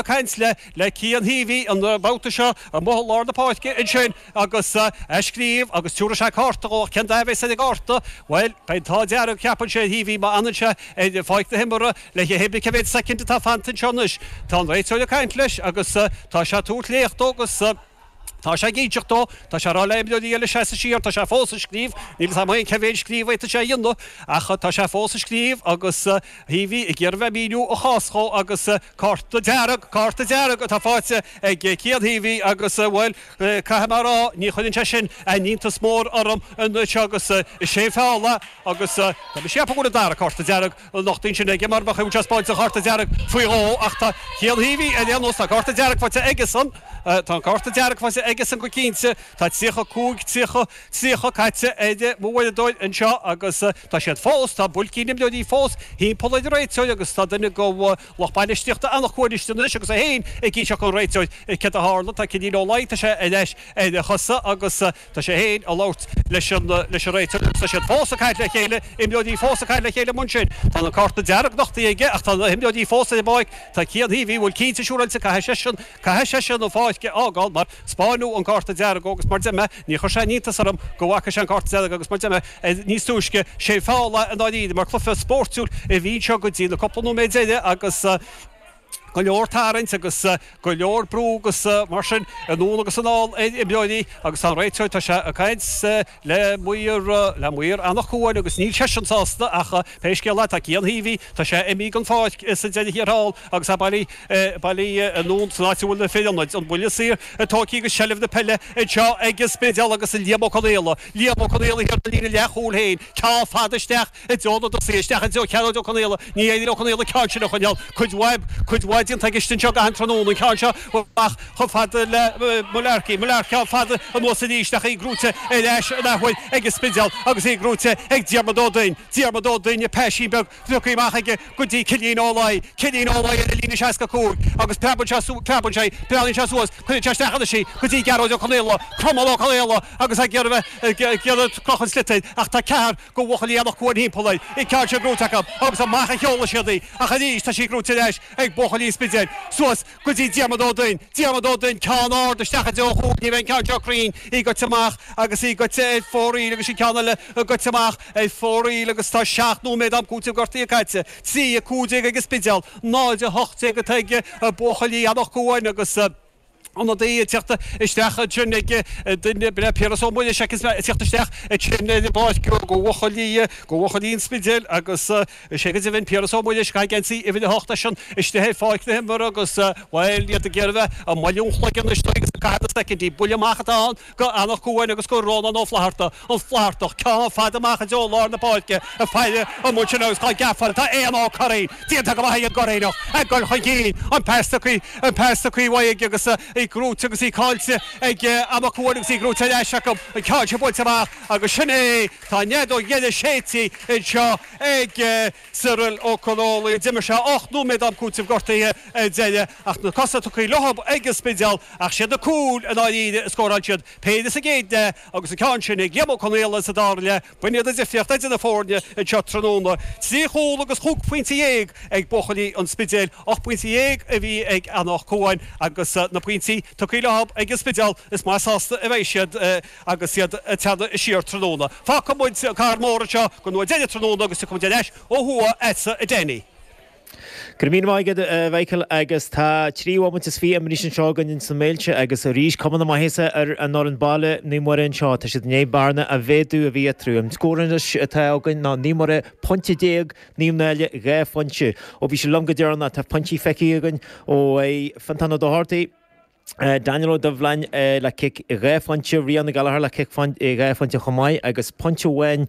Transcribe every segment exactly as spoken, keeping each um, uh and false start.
caint le le Cian Heavey an babhta seo amuigh i lár na páirce ansin agus ag scríobh agus tabharfaidh sé cárta dhó ach cén dath a bheas ar an gcárta? Bhuel, beidh an t-ádh dearg, ceapann sé, ar Heavey má fhanann sé ar pháirc na himeartha le hé cé mhéad soicind atá fanta anseo anois. Tá an réiteoir ag caint leis agus tá sé ag tabhairt léacht dó agus tá sé ag inseacht dó, tá sé ag rá le imreoirí eile seasamh siar, tá sé fós ag scríobh, níl 'fhios a'm féin cé mhéad scríobh a fhéadfadh sé a dhéanamh ach tá sé fós ag scríobh agus Heavey ag iarraidh bheith ag míniú a chás dhó agus cárta dearg, cárta dearg atá faighte ag Cian Heavey agus bhuel, caithfidh mé a rá, ní chuireann sé sin aon iontas mór orm anois agus is é feall é agus tá mise ag ceapadh go bhfuil an dara cárta dearg nochtaithe ansin aige mar bheadh sé spáint an chárta dearg faoi dhó ach tá Cian Heavey ar aon nós, tá cárta dearg faighte aigesan, tá an cárta dearg faighte aigesan go cinnte, tá tríocha cúig, tríocha, tríocha caite ar mo uaireadóir anseo agus tá siad fós, tá buailcín imreoirí fós thimpeall ar an réiteoir agus tá duine de lucht bainistíochta Eanach Cuain istigh anois agus é féin ag inseacht don réiteoir céard a tharla, tá Cinín Ó Laoi, tá sé ar ais ar a chosa agus tá sé féin ag labhairt leis an leis an réiteoir agus tá siad fós ag caint le chéile, imreoirí fós ag caint le chéile amuigh ansin. Tá an cárta dearg nochtaithe aige ach tá na himreoirí fós ar an bpáirc. Tá Cian Heavey, bhuel cinnte siúráilte, caithfidh seisean, caithfidh seisean an pháirc a fhágáil mar 'spáineadh an cárta dearg dhó agus mar deir mé, ní chuir sé aon iontas orm go bhfaca sé an cárta dearg agus mar deir mé níos túisce, sé feall é i ndáiríre mar cluiche spóirtiúil a bhí anseo go dtí na cúpla nóiméad deiridh agus go leor tarraingt agus go leor brú agus mar sin anonn agus anall ar imreoirí agus tá an réiteoir, tá sé ag caint le maor, le maor Eanach Cuain agus níl seisean sásta ach pé scéal é tá Cian Heavey, tá sé imithe den pháirc sa deireadh thiar thall agus é bailithe, bailithe anonn san áit a bhfuil na fir ionaid, an buille saor tógtha agus seilbh na peile anseo ag an Spidéal agus Liam Ó Conaola, Liam Ó Conaola thiar ar an líne leathchúil féin, ceann fada isteach i dtreo na dtosaithe, isteach i dtreo Chearóid Ó Conaola, ní éiríonn le Ó Conaola an ceann sin a choinneáil, cuid mhaith, cuid mhaith déanta aige anseo achan tráthnóna, an ceann seo amach chomh fada le Mullarkey, Mullarkey ceann fada anuas arís ach í gnóite ar ais an athuair ag an Spidéal agus í gnóite ag Diarmuid Ó Duinn, Diarmuid Ó Duinn, paisín beag tugtha amach aige go dtí Cillian Ó Laoi, Cillian Ó Laoi ar an líne seasca cúig agus preabann sé, preabann sé, breathnaíonn sé suas, cuireann sé isteach anois í go dtí Gearóid Ó Conaola, Cromail Ó Conaola agus é ag iarraidh bheith, ag iarraidh crochadh an tsliotair ach tá ceathrar de bhuachaillí Eanach Cuain thimpeall air, an ceann seo gnóite acu agus amach a sheolfaidh siad í ach arís tá sí gnóite ar ais ag buachaillí an Spidéil suas go dtí Diarmuid Ó Duinn, Diarmuid Ó Duinn, ceann ard isteach i dtreo an chúil, ní bheidh an ceann seo cruinn, í goite amach agus í goite ar fóraoil agus an ceann eile goite amach ar fóraoil agus tá seacht nóiméad am cúitimh gortaithe caite, trí a cúig déag ag an Spidéal, náid a hocht déag atá ag buachaillí Eanach Cuain agus. Ionadaí ag teacht isteach ansin ag duine, b'in é Piaras Ó Muiris ag teacht isteach ansin ar an bpáirc do bhuachaillí, do bhuachaillí an Spidéil agus is é go deimhin Piaras Ó Muiris ag caitheamh geansaí uimhir a hocht eisean istigh ar pháirc na himeartha agus bhuel iad ag iarraidh a bheith ag moilliú an chloig anois agus ag caitheamh na soicindí. Buille amach atá ann do Eanach Cuain agus do Rónán Ó Flatharta, an Flaitheartach, ceann fada amach i dtreo lár na páirce ag faire amuigh ansin agus tá geafáil, tá Éanna Ó Curraoin déanta go maith ag an gCurraoineach ag dul chun cinn, an pas tugtha, an pas tugtha uaidh aige agus í gnóite agus í caillte ag Eanach Cuain agus í gnóite ar ais acu, an ceann seo buailte amach agus sin é, tá an fheadóg dheiridh séidte anseo ag Cyril Ó Connolly. D'imir sé ocht nóiméad am cúitimh gortaithe ar deireadh ach na cosa tugtha leo ag an Spidéal ach siad na cúil i ndáiríre a scóráil siad péire sa gcéad leath agus an ceann sin ag Liam Ó Conaola sa dara leath. B'in iad an difríocht idir na foirne anseo tráthnóna. Trí chúl agus chúig phointe dhéag ag buachaillí an Spidéil, ocht bpointe dhéag a bhí ag Eanach Cuain agus na pointí tugtha leo ag an Spidéal is maith sásta a bheidh siad agus iad ag teannadh siar tráthnóna. Fágfaidh muid an Carn Mór anseo don uair deiridh tráthnóna agus tiocfaidh muid ar ais ó thuaidh agatsa a Danny. Go raibh míle maith agat, a Mhichael, agus tá trí bhomaite is fiche imeartha anseo againn ins na Méilte agus arís cuma na maitheasa ar an fhoireann baile, Naomh Muire anseo. Tá siad i ndiaidh bearna a mhéadú a bhí eatarthu. An scór anois atá againn ná Naomh Muire pointe déag, Naomh Náille dhá phointe. Ó bhí sé liom go deireanach, tá pointí feicthe againn ó Fiontán Ó Dochartaigh, Daniel Ó Doibhleáin le cic dhá phointe, Ríona Gallagher le cic dhá phointe chomh maith agus pointe amháin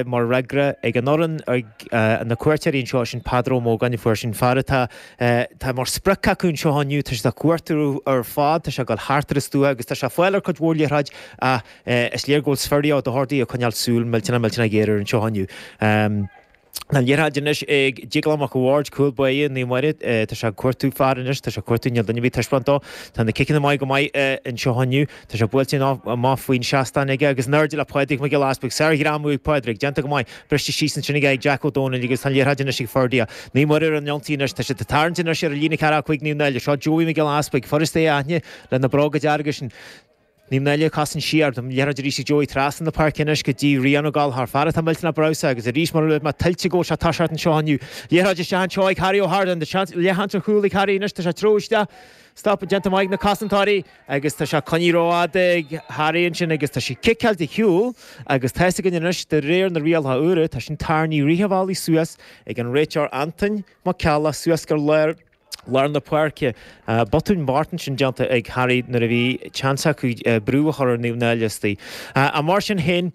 mar fhreagra ag an fhoireann ag na cuairteoirí anseo, sin Peadar Ó Mógáin a fuair sin fear atá tá mar sprioc acu anseo inniu, tá siad á cuartú ar fad, tá sé ag dul thart ar an stua agus tá sé ag fáil ar cuid mhór liathróid ach is léir go bhfuil Sverri Ó Dochartaigh ag coinneáil súil millteanach millteanach géar air anseo inniu. Tá an liathróid anois ag Déaglán Mac a' Bhaird, cúl báire Naomh Muire. Tá sé ag cuartú fear anois, tá sé ag cuartú, níl duine ar bith ag taispeáint dó. Tá na ciceanna maith go maith anseo inniu. Tá sé buailte amach faoin seastán aige agus in airde le Pádraig Mac Giolla Easpaig. Sár-ghreamú ag Pádraig, déanta go maith. Briste síos ansin aige ag Jack Ó Dónaill agus tá an liathróid anois ag Ferdia. Naomh Muire ar an ionsaí anois. Tá siad ag tarraingt anois ar an líne ceathracha cúig Naomh Náille. Seo Joey Mac Giolla Easpaig, furast é a aithne le na bróga dearga sin. Naomh Náille ag cosaint siar, an liathróid arís ag Joey trasna na páirce anois go dtí Rian Ó Gallchóir, fear atá millteanach breabhsánta agus arís mar a luaigh mé tuillte go bhfuil sé ag toiseacht anseo inniu. Liathróid isteach anseo ag Harry Ó hArdáin, tá seans, leathsheans ar chúl ag Harry anois, tá sé ag treabhadh isteach, stop déanta maith ag na cosantóirí agus tá sé coinnithe rófhada ag Harry ansin agus tá sí ciceáilte ar shiúl agus tá fhios againn anois de réir na rialacha úra, tá sin tarraingthe rith an bhealaigh suas ag an réiteoir Antain Mac Ceallaigh suas go lár lár na páirce. Botún bocht ansin déanta ag Harry nuair a bhí seans acu brú a chur ar Naomh Náille istigh. Ach mar sin féin,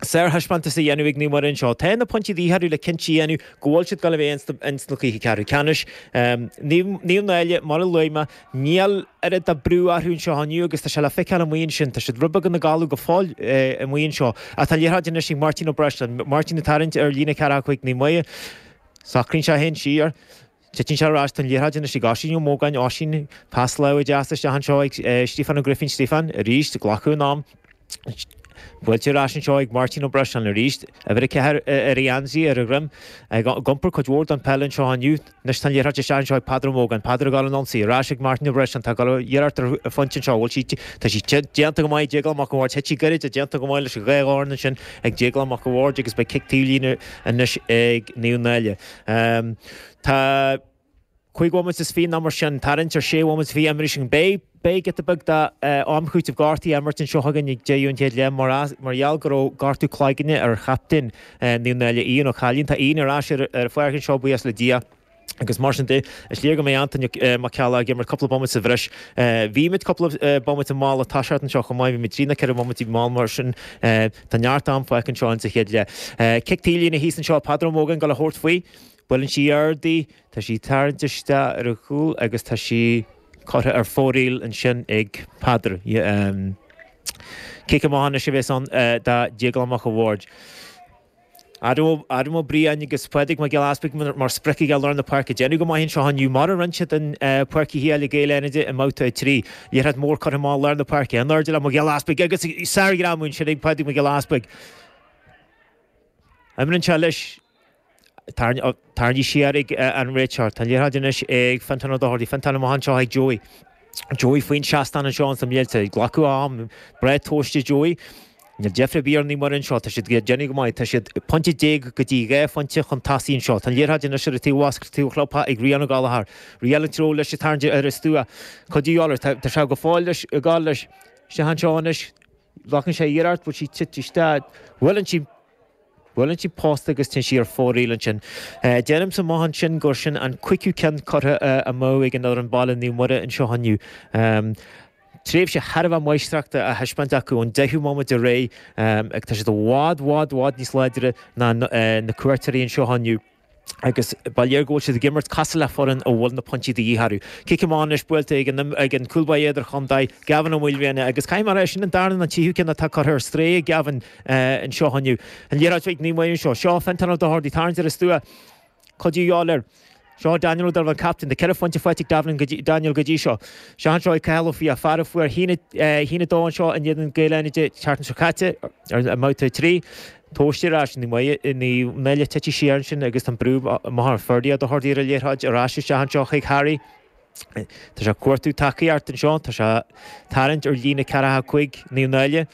sárthaispeántas a dhéanamh ag Naomh Muire anseo. Tá na pointí de dhíth orthu le cinnte a dhéanamh go bhfuil siad ag dul a bheith ins na cluichí ceathrú ceannais. Naomh Náille, mar a luaigh mé, níl oiread de brú orthu anseo inniu agus tá sé le feiceáil amuigh ansin. Tá siad rud beag ina gcodladh go fóill amuigh anseo. Ach tá an liathróid anois ag Máirtín Ó Breisleáin. Máirtín ag tarraingt ar líne ceathracha cúig Naomh Muire. Socraíonn sé féin siar. Titeann sé ar ais tá an liathróid anois ag Oisín Ó Mógáin, Oisín, pas láimhe deas isteach anseo ag Stíofán Ó Grifín, Stíofán, arís, ag glacadh an am. Buailte ar ais anseo ag Máirtín Ó Breisleáin arís, uimhir a ceathair ar a gheansaí, ar a dhroim, ag iompar cuid mhór den peil anseo inniu. Anois tá an liathróid isteach anseo ag Peadar Ó Mógáin, Peadar ag dul an ionsaí, ar ais ag Máirtín Ó Breisleáin, tá ag dul iarracht ar phointe anseo, bhfuil sí, tá sí déanta go maith ag Déaglán Mac an Bhaird, thit sí gairid, déanta go maith leis an dhá dhorn ansin ag Déaglán Mac an Bhaird agus beidh cic taobh líne anois ag Naomh Náille. Tá cúig bhomaite is fiche nó mar sin, tarraingt ar sé bhomaite is fiche imrithe againn. Beidh, beidh giota beag d'am chúitimh gortaithe á imirt anseo againn ag deireadh an chéad leath mar, mar gheall go raibh gortú cloigne ar chaptaen Naomh Náille, Ian Ó Cailín. Tá Ian ar ais ar ar an pháirc anseo, buíochas le Dia. Agus mar sin de, is léir go mbeidh Antaine Mac Ceallaigh ag imirt cúpla bomaite sa bhreis. Bhí muid cúpla bomaite mall ag toiseacht anseo chomh maith, bhí muid trí nó ceithre bhomaite mall mar sin. Tá neart am fágtha anseo insa chéad leath. Cic taobh líne thíos anseo, Peadar Ó Mógáin ag dul a thabhairt faoi. Buaileann sí ard í, tá sí tarraingte isteach ar a chúl agus tá sí curtha ar fóraoil ansin ag Peadar. Cic amach anois a bheas ann do Déaglán Mac a' Bhaird. Adam Adam Ó Briain agus Pádraig Mac Giolla Easpaig mar sprioc aige i lár na páirce. Déanamh go maith anseo inniu mar a rinne siad in Páirc Uí Shiail i gCill Fhánaide i mbabhta a trí. Liathróid mhór curtha amach i lár na páirce. In airde le Mac Giolla Easpaig agus sárghreamú ansin ag Pádraig Mac Giolla Easpaig. Imríonn sé leis. Tarraingthe siar ag an réiteoir. Tá an liathróid anois ag Fintán Ó Dochartaigh. Fintán amach anseo ag Joey. Joey faoin seastán anseo ins na Mílte. Ag glacadh am. Breá tomhaiste Joey. Níl deifir ar bith ar Naomh Muire anseo. Tá siad ag déanamh go maith. Tá siad pointe déag go dtí dhá phointe chun tosaigh anseo. Tá an liathróid anois ar an taobh oscailte, taobh chló ag Rian Ó Gallchóir. Rian an treo leis ag tarraingt ar an stua. Cuid de dhíth air. Tá sé go fóill leis, ag gabháil leis. Isteach anseo anois. Glacann sé iarracht. Bhfuil sí tite isteach? Buaileann sí. Buaileann sí posta agus téann sí ar fóraoil ansin. Deirimse amach ansin gur sin an cúigiú ceann curtha amú ag an fhoireann baile Naomh Muire anseo inniu. Tréimhse thar a bheith máistreachta á thaispeáint acu ón deichiú bomaite ar aghaidh ach tá siad i bhfad, bhfad, bhfad níos láidre ná na cuairteoirí anseo inniu. Agus ba léir go bhfuil siad ag imirt cosúil le foireann a bhfuil na pointí de dhíth orthu. Cic amach anois buailte ag an ag an cúl báire idirchontae, Gavin Ó Maoilriana, agus caithfidh mé a rá, sin an darna nó an tríú ceann atá curtha ar strae ag Gavin anseo inniu. An liathróid ag Naomh Muire anseo. Seo Fintán Ó Dochartaigh, tarraingt ar an stua. Cuid de dhíth air. Seo Daniel Ó Donnabháin, captaen. Tá ceithre phointe faighte ag Davin go dtí, Daniel go dtí seo. Seo anseo ag Cathal Ó Fiaich, fear a fuair a haon a dó anseo in éadan Gaeil Fhánaide an tseachtain seo caite ar i mbabhta a trí. Tomhaiste ar ais Naomh Náille tite siar ansin agus tá an brú amach ar Ferdia Ó Dochartaigh ar an liathróid ar ais isteach anseo chuig Harry. Tá sé ag cuartú tacaíocht anseo, tá sé ag tarraingt ar líne ceathracha cúig Naomh Náille.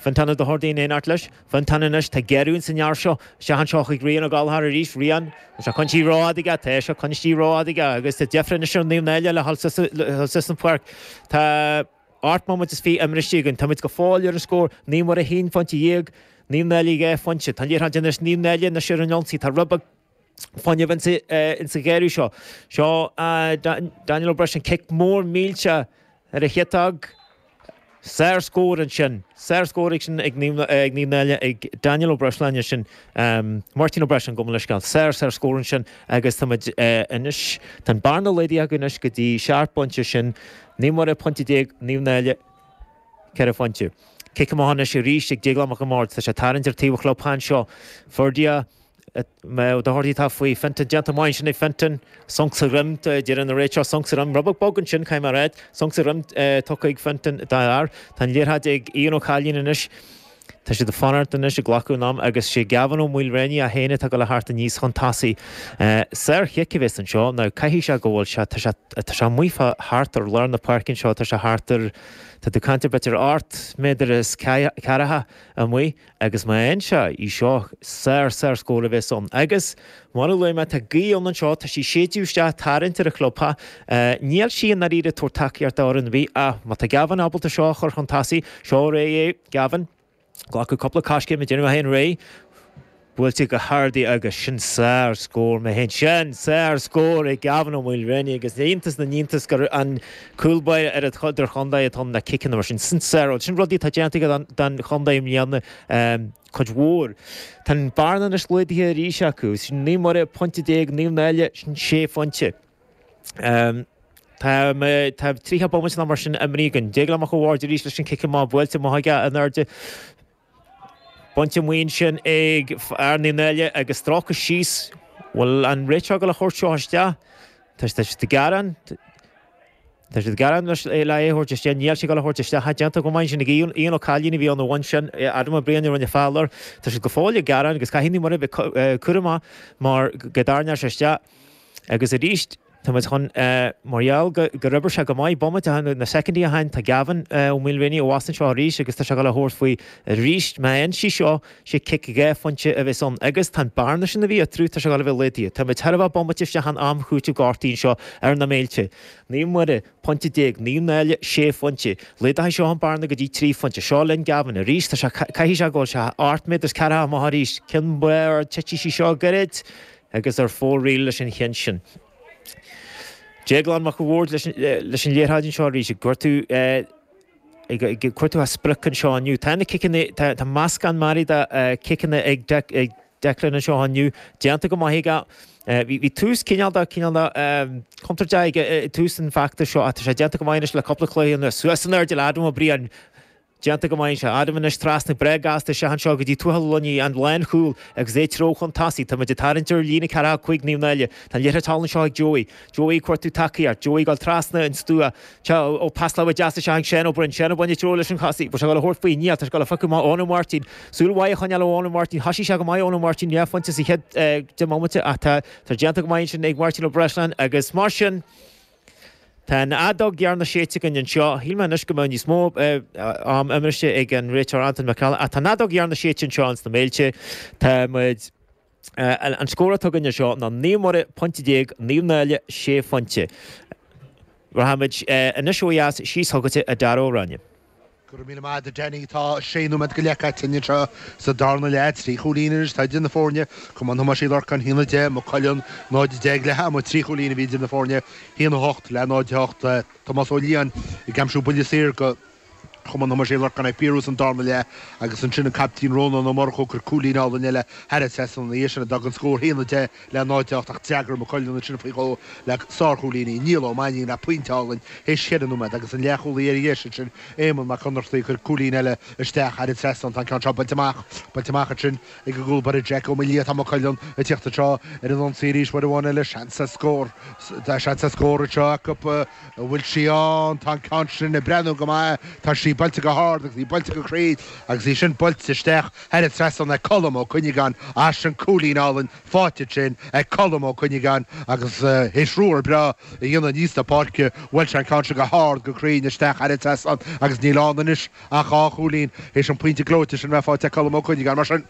Fintán Ó Dochartaigh in éineacht leis. Fintán anois, tá géarú ins an fhear seo. Isteach anseo chuig Rian Ó Gallchóir arís. Rian, tá sé coinnithe rófhada aige, tá sé coinnithe rófhada aige agus tá deifir anois ar Naomh Náille le dhul suas an pháirc. Tá ocht mbomaite is fiche imrithe againn. Táimid go fóill ar an scór, Naomh Muire a haon phointe dhéag, Naomh Náille dhá phointe. Tá an liathróid anois Naomh Náille anois ar an ionsaí. Tá rud beag fuinnimh insa ghéarú seo. Seo Daniel Ó Breisleáin, cic mór millteach ar a chiotóg. Sár-scór ansin. Sár-scór ag sin ag Naomh Náille, ag Daniel Ó Breisleáin ansin. Máirtín Ó Breisleáin, gabh mo leithscéal. Sár, sár-scór ansin agus táimid anois, tá an bearna laghdaithe acu anois go dtí seacht bpointe sin. Naomh Muire pointe déag, Naomh Náille ceithre phointe. Cic amach anois arís ag Déaglán Mac an Bhaird. Tá sé ag tarraingt ar taobh an chlub anseo. Ferdia. Ó Dochartaigh atá faoi Fintan déanta maith ansin ag Fintan. Sonc sa dhroim deireann an réiteoir sonc sa dhroim. Rud beag bog ansin caithfidh mé a rá. Sonc sa dhroim tugtha ag Fintan dá fhear. Tá an liathróid ag Ian Ó Cailín anois. Tá siad ag fanacht anois ag glacadh an am agus sé Gavin Ó Maoilréanaí é féin atá ag dul a theacht aníos chun tosaigh. Saor-chic a bheas anseo. Now caithfidh sé go bhfuil sé, tá sé, tá sé amuigh fá thart ar lár na páirce anseo, tá sé thart ar, tá tú ag caint ar b'fhéidir ocht méadar is ceathracha amuigh agus má fhaigheann sé í seo, sár, sár scór a bheas ann. Agus mar a luaigh mé, tá gaoth ann anseo, tá sí ag séideadh isteach, tarraingt ar an chlubtheach. Níl sí i ndáiríre ag tabhairt tacaíocht d'fhoireann ar bith ach má tá Gavin ábalta seo a chur chun tosaigh, seo réidh é, Gavin. Glacadh cúpla coiscéim ag déanamh é féin réidh. Buailte go hard í agus sin sár scór mé féin. Sin sár scór ag Gavin Ó Maoilréanaí agus iontas na n-iontas gur an cúl báire ar an idirchontae atá ann na ciceanna mar sin. Sin sár, sin rudaí atá déanta aige don chontae i mbliana cuid mhór. Tá an bearna anois laghdaithe arís acu. Sin Naomh Muire pointe déag, Naomh Náille sin sé phointe. Tá tá tríocha bomaite nó mar sin imeartha againn. Déaglán Mac an Bhaird arís leis an cic amach buailte amach aige in airde. Bainte amach ansin ag fear Naomh Náille agus stróicthe síos. Bhfuil an réiteoir ag dul a thabhairt seo isteach? Tá siad ag gearán. Tá siad ag gearán leis le é a thabhairt isteach. Níl sé ag dul a thabhairt isteach. Tá déanta go maith ansin ag Ian, Ian Ó Cailín a bhí ann a bhain sin. Adam Ó Briain a rinne feall air. Tá siad go fóill ag gearán agus caithfidh Naomh Muire bheith cúramach mar go dtarraingeoidh sé isteach. Agus arís, tá muid chun, mar gheall gur oibir sé go maith bomaite ó shin, na soicindí ó shin, tá Gavin Ó Maoilréanaí abhus anseo arís agus tá sé ag dul a thabhairt faoi arís. Má fhaigheann sé seo, sé cic dhá phointe a bheas ann agus tá an bearna sin a bhí eatarthu, tá sé ag dul a bheith laghdaithe. Tá muid thar a bheith bomaite isteach in am chúitimh gortaithe anseo ar na Méilte. Naomh Muire, pointe déag, Naomh Náille, sé phointe. Laghdaithe seo an bearna go dtí trí phointe. Seo linn Gavin arís, tá sé, caithfidh sé go bhfuil sé ocht méadar is ceathracha amach arís. Ceann mór, titfidh sí seo gairid agus ar fóraoil leis an cheann sin. Déaglán Mac an Bhaird leis an liathróid anseo arís ag cuartú ag cuartú a sprioc anseo inniu. Tá na ciceanna, tá meascán mearaí de chiceanna ag Declan anseo inniu, déanta go maith aige. Bhí tús cineál de cineál de contúirteach aige i dtús an feachtais seo ach tá sé déanta go maith anois le cúpla cluiche anuas. Suas in airde le Adam Ó Briain. Déanta go maith anseo. Adam anois trasna breá gasta isteach anseo go dtí Tuathal Ó Luinnigh, an lánchúl, agus é treo chun tosaigh. Tá muid ag tarraingt ar líne ceathracha cúig Naomh Náille. Tá an liathróid thall anseo ag Joey. Joey ag cuartú tacaíocht. Joey ag dul trasna an stua. Ó pas láimhe deas isteach ag Seán Ó Broin. Seán Ó Broin ag treo leis an chosaí. Bhfuil sé ag dul a thabhairt faoi? Níl. Tá sé ag dul a phiocadh amach Eoin Ó Máirtín. Súil mhaith a choinneáil ó Eoin Ó Máirtín. Thosaigh sé go maith Eoin Ó Máirtín dhá phointe sa chéad deich mbomaite ach tá déanta go maith ansin ag Máirtín Ó Breisleáin agus mar sin, Tá an fheadóg dheireanach séidte againn anseo. Shíl mé anois go mbeadh níos mó am imeartha ag an réiteoir Anton Mac Ceallaigh ach tá an fheadóg dheireanach séidte anseo ins na Méilte. Tá muid, an scór atá againn anseo ná Naomh Muire, pointe déag, Naomh Náille, sé phointe. Rachaimid anois ó dheas síos chugatsa a Dara Ó Ráinne. Go raibh míle maith agat a Danny. Tá sé nóiméad go leith caite anseo sa darna leath. Trí chúilín anois atá idir na foirne. Cumann Thomáis Uí Lorcáin a haon a deich, Maigh Cuilinn náid a deich ag leath ama. Trí chúilín a bhí idir na foirne, a haon a hocht le náid a hocht. Tomás Ó Liatháin ag aimsiú buille saor do Chumann Thomáis Uí Lorcáin ag fíorthús an darna leath agus ansin an caiptín Rónán Ó Murchú ag cur cúilín álainn eile thar an trasnán ina dhiaidh sin a d'fhág an scór a haon a deich le náid a hocht ach d'fhreagair Maigh Cuilinn ansin faoi dhó le sárchúilíní Niall Ó Mainnín le pointe álainn théis cheithre nóiméad agus an leathchúlaí ar dheis ansin Éamonn Mac Ionnrachtaigh ag cur cúilín eile isteach thar an trasnán. Tá an ceann seo bainte amach bainte amach ansin ag an gcúl báire Jack Ó Maoildhia. Tá Maigh Cuilinn ag tíocht anseo ar an ionsaí arís uair amháin eile. Seans ar scór Tá seans ar scór anseo acu. An bhfuil sí ann? Tá an ceann sin ag breathnú go maith. Tá sí buailte go hard agus í buailte go cruinn agus í sin buailte isteach thar an trasnán ag Colm Ó Cuinneagáin. As sin cúilín álainn faighte ansin ag Colm Ó Cuinneagáin agus théis ruathar breá a dhéanamh aníos na páirce bhuail sé an ceann sin go hard go cruinn isteach thar an trasnán agus níl ann anois ach dhá chúilín théis an pointe gleoite sin bheith faighte ag Colm Ó Cuinneagáin. Mar sin.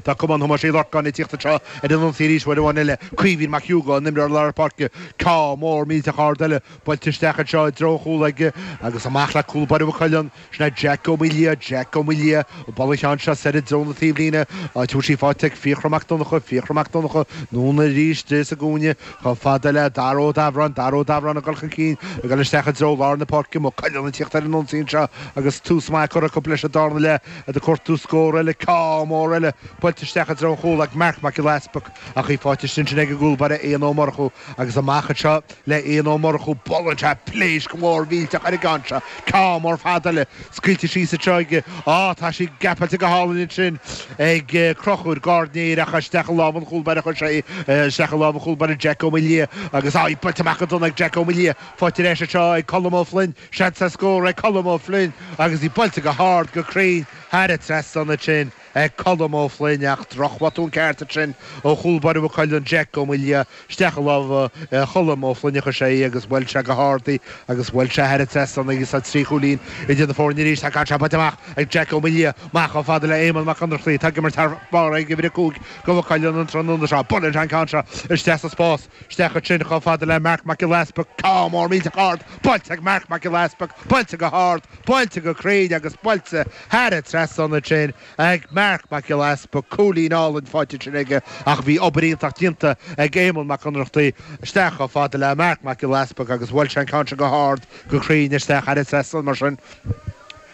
Tá Cumann Thomáis Uí Lorcáin ag tíocht anseo ar an ionsaí arís uair amháin eile. Caoimhín Mac Hugo, an imreoir lár páirce. Ceann mór millteach ard eile buailte isteach anseo i dtreo an chúil aige agus amach le cúl báire Mhaigh Cuilinn. Sin é Jack Ó Maoildhia, Jack Ó Maoildhia, ag bualadh an cheann seo soir i dtreo na taobhlíne, áit a bhfuil sí faighte ag Fiachra Mac Donncha, Fiachra Mac Donncha, anonn arís di sa gcúinne, chomh fada le Dara Ó Dabhráin, Dara Ó Dabhráin ag dul chun cinn, ag dul isteach i dtreo lár na páirce. Maigh Cuilinn ag tíocht ar an ionsaí anseo agus tús maith curtha acu leis an darna leath. Ag cuartú scór eile, ceann mór eile buailte isteach i dtreo an chúil ag Marc Mac Giolla Easpaig ach í faighte ansin ag an gcúl báire Éanna Ó Murchú agus amach anseo le Éanna Ó Murchú buaileann sé pléasc mhór mhillteach ar an gceann seo ceann mór fada eile scaoilte síos anseo aige á tá sí gapáilte go hálainn ansin ag Conchúr Gairdnéir ach isteach i lámh an chúl báire chuir sé isteach i lámh an chúl báire Jack Ó Maoildhia agus á í buailte amach go dona ag Jack Ó Maoildhia faighte ar ais anseo ag Colm Ó Floinn seans ar scór ag Colm Ó Floinn agus í buailte go hard go cruinn thar an trasnán ansin ag Colm Ó Floinn ach drochbhotún ceart ansin ó chúl báire Mhaigh Cuilinn Jack Ó Maoildhia isteach i lámha Cholm Ó Floinn a chuir sé í agus bhuail sé go hard í agus bhuail sé thar an trasnán agus tá trí chúilín idir na foirne arís tá ceann seo buailte amach ag Jack Ó Maoildhia amach chomh fada le Éamonn Mac Ionnrachtaigh atá ag imirt thar barr ag uimhir a cúig do Mhaigh Cuilinn an tráthnóna seo buaileann sé an ceann seo isteach sa spás isteach ansin chomh fada le Marc Mac Giolla Easpaig ceann mór millteach ard buailte ag Marc Mac Giolla Easpaig buailte go hard buailte go cruinn agus buailte thar an trasnán ansin ag Marc Mac Giolla Easpaig cúilín álainn faighte ansin aige ach bhí obair iontach déanta ag Éamonn Mac Ionnrachtaigh isteach chomh fada le Marc Mac Giolla Easpaig agus bhuail sé an ceann seo go hard go cruinn isteach thar an trasnán mar sin.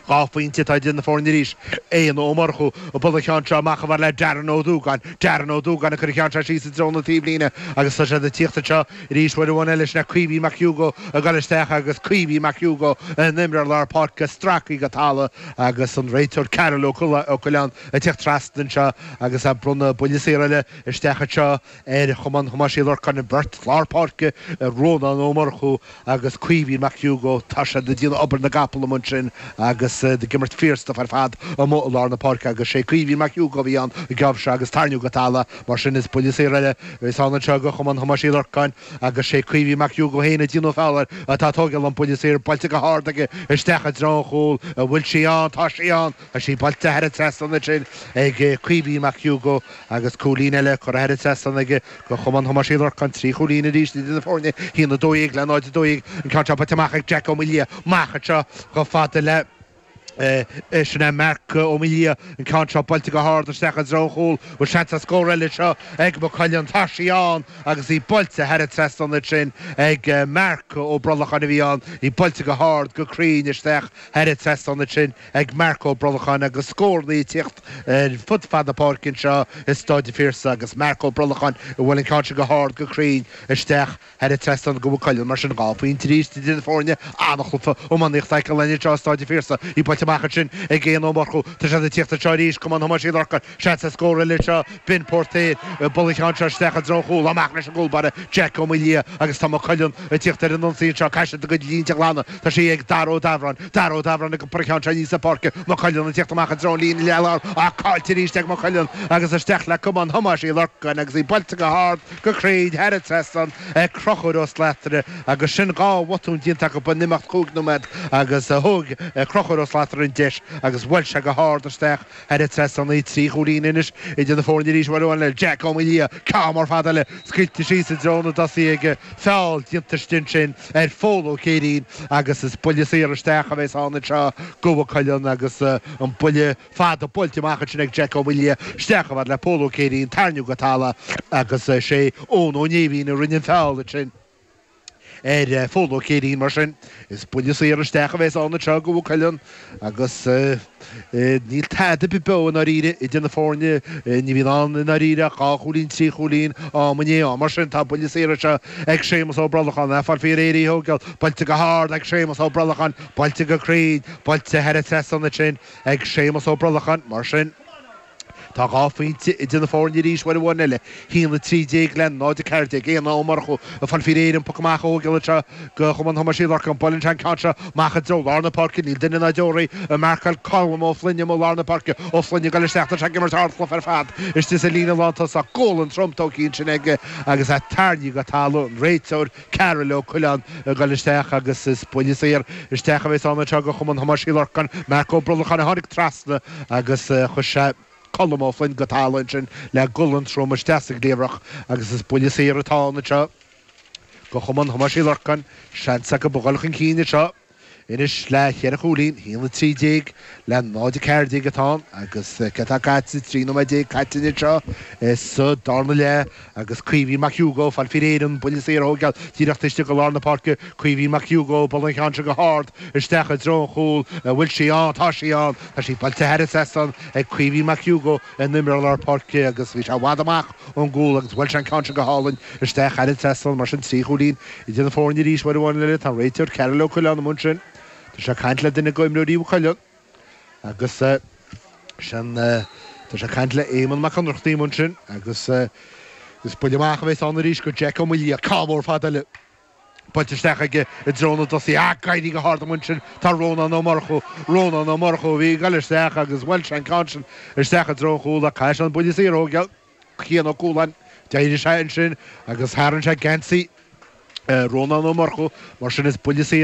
Dhá phointe atá idir na foirne arís. Éanna Ó Murchú ag bualadh an cheann seo amach chomh fada le Darren Ó Dúgáin. Darren Ó Dúgáin ag cur an cheann seo síos i dtreo na taobhlíne agus tá siad ag tíocht anseo arís uair amháin eile. Sin é Caoimhín Mac Hugo ag dul isteach agus Caoimhín Mac Hugo an imreoir lár páirce stractha go talamh agus an réiteoir Karol Ó Coileáin ag tíocht trasna anseo agus ag bronnadh buille saor eile isteach anseo ar Chumann Thomáis Uí Lorcáin, an bheirt lár páirce, Rónán Ó Murchú agus Caoimhín Mac Hugo. Tá siad ag déanamh obair na gcapall amuigh ansin agus ag imirt fíorstuif ar fad amuigh i lár na páirce agus sé Caoimhín Mac Hugo a bhí ann an geábh seo agus tarraingíodh go talamh mar sin is buille saor eile a bheas ann anseo do Chumann Thomáis Uí Lorcáin agus sé Caoimhín Mac Hugo féin ag déanamh feall air atá ag tógáil an buille saor buailte go hard aige isteach i dtreo an chúil an bhfuil sí ann tá sí ann tá sí buailte thar an trasnán ansin ag Caoimhín Mac Hugo agus cúilín eile curtha thar an trasnán aige do Chumann Thomáis Uí Lorcáin trí chúilín arís idir na foirne haon a dó dhéag le náid a dó dhéag an ceann seo buailte amach ag Jack Ó Maoildhia amach anseo chomh fada le Sin é Marc Ó Maoildhia, an ceann seo buailte go hard isteach i dtreo an chúil. Bhfuil seans ar scór eile anseo ag Maigh Cuilinn? Tá sí ann agus í buailte thar an trasnán ansin ag Marc Ó Brolacháin a bhí ann. Í buailte go hard, go cruinn isteach thar an trasnán ansin ag Marc Ó Brolacháin agus scóranna ag tíocht ar fud fad na páirce anseo i Stáid an Phiarsaigh agus Marc Ó Brolacháin a bhuail an ceann seo go hard, go cruinn isteach thar an trasnán do Mhaigh Cuilinn. Mar sin, dhá phointe arís idir na foirne. An-chluiche iománaíochta a fheiceáil anseo i Stáid an Phiarsaigh. Í buailte amach ansin ag Éanna Ó Murchú. Tá siad ag tíocht anseo arís, Cumann Thomáis Uí Lorcáin. Seans ar scór eile anseo. Ben Póirtéir ag bualadh an cheann seo isteach i dtreo an chúil. Amach leis an gcúl báire, Jack Ó Maoildhia agus tá Maigh Cuilinn ag tíocht ar an ionsaí anseo. Caithfidh siad a gcuid línte a ghlanadh. Tá sí ag Dara Ó Dabhráin. Dara Ó Dabhráin ag iompar an cheann seo aníos an pháirc. Maigh Cuilinn ag tíocht amach i dtreo an líne leath-láir ach caillte arís ag Maigh Cuilinn agus isteach le Cumann Thomáis Uí Lorcáin agus í buailte go hard, go cruinn thar an trasnán ag Conchúr Ó Slatara agus sin dhá bhotún déanta acu in imeacht cúig nóiméad agus thóg Conchúr Ó Slatara an deis agus bhuail sé go hard isteach thar an trasnán í. Trí chúilín anois idir na foirne arís uair amháin eile. Jack Ó Maoildhia, ceann mór fada eile scaoilte síos i dtreo na dtosaithe aige. Feall déanta istigh ansin ar Phól Ó Céirín agus is buille saor isteach a bheas ann anseo do Mhaigh Cuilinn agus an buille fada buailte amach ansin ag Jack Ó Maoildhia isteach chomh fada le Pól Ó Céirín, tarraingíodh go talamh agus sé Eoin Ó Néimhín a rinne an feall ansin ar Phól Ó Céirín. Mar sin, is buille saor isteach a bheas ann anseo do Mhaigh Cuilinn agus níl tada ar bith beo i ndáiríre idir na foirne. Ní bhíonn ann i ndáiríre ach dhá chúilín, trí chúilín am i ndiaidh ama. Mar sin, tá buille saor anseo ag Séamus Ó Brolacháin. É ag fáil faoi réir í a thógáil. Buailte go hard ag Séamus Ó Brolacháin. Buailte go cruinn. Buailte thar an trasnán ansin ag Séamus Ó Brolacháin. Mar sin. Tá dhá phointe idir na foirne arís uair amháin eile, a haon a trí déag le náid a ceathair déag. Éanna Ó Murchú ag fáil faoi réir an poc amach a thógáil anseo do Chumann Thomáis Uí Lorcáin. Buaileann sé an ceann seo amach i dtreo lár na páirce. Níl duine ná deoraí ag marcáil Colm Ó Floinn amuigh i lár na páirce. Ó Floinn ag dul isteach. Tá sé ag imirt ardchluiche ar fad istigh sa líne lántosach. Gualainn trom tógtha ansin aige agus é tarraingthe go talamh. An réiteoir Karol Ó Coileáin ag dul isteach agus is buille saor isteach a bheas ann anseo do Chumann Thomáis Uí Lorcáin. Marc Ó Brolacháin a tháinig trasna agus chuir sé Colm Ó Floinn go talamh ansin le gualainn trom isteach sa gcliabhrach agus is buille saor atá ann anseo do Chumann Thomáis Uí Lorcáin. Seans acu a dhul chun cinn anseo. Anois le cheithre chúilín, a haon a trí déag le náid a ceathair déag atá ann agus céard atá caite, trí nóiméad déag caite anseo sa darna leath agus Caoimhín Mac Hugo, fáil faoi réir an buille saor a thógáil díreach taobh istigh de lár na páirce, Caoimhín Mac Hugo, bualadh an ceann seo go hard isteach i dtreo an chúil, an bhfuil sí ann? Tá sí ann! Tá sí buailte thar an trasnán ag Caoimhín Mac Hugo, an imreoir lár páirce agus bhí sé i bhfad amach ón gcúl agus bhuail sé an ceann seo go hálainn isteach thar an trasnán mar sin trí chúilín idir na foirne arís uair amháin eile. Tá an réiteoir Cearbhall Ó Coileáin amuigh ansin. Tá sé ag caint le duine d'imreoirí Mhaigh Cuilinn agus sin tá sé ag caint le Éamonn Mac Ionnrachtaigh amuigh ansin agus is buille amach a bheas ann arís go Jack Ó Maolaodha. Ceann mór fada eile buailte isteach aige i dtreo na dtosaithe. Ach ag éirí go hard amuigh ansin tá Rónán Ó Murchú. Rónán Ó Murchú a bhí ag dul isteach agus bhuail sé an ceann sin isteach i dtreo an chúil ach caithfidh sé an buille saor a thógáil. Cian Ó Cualáin, d'éirigh sé ansin agus tharraing sé geansaí Rónán Ó Murchú mar sin is buille saor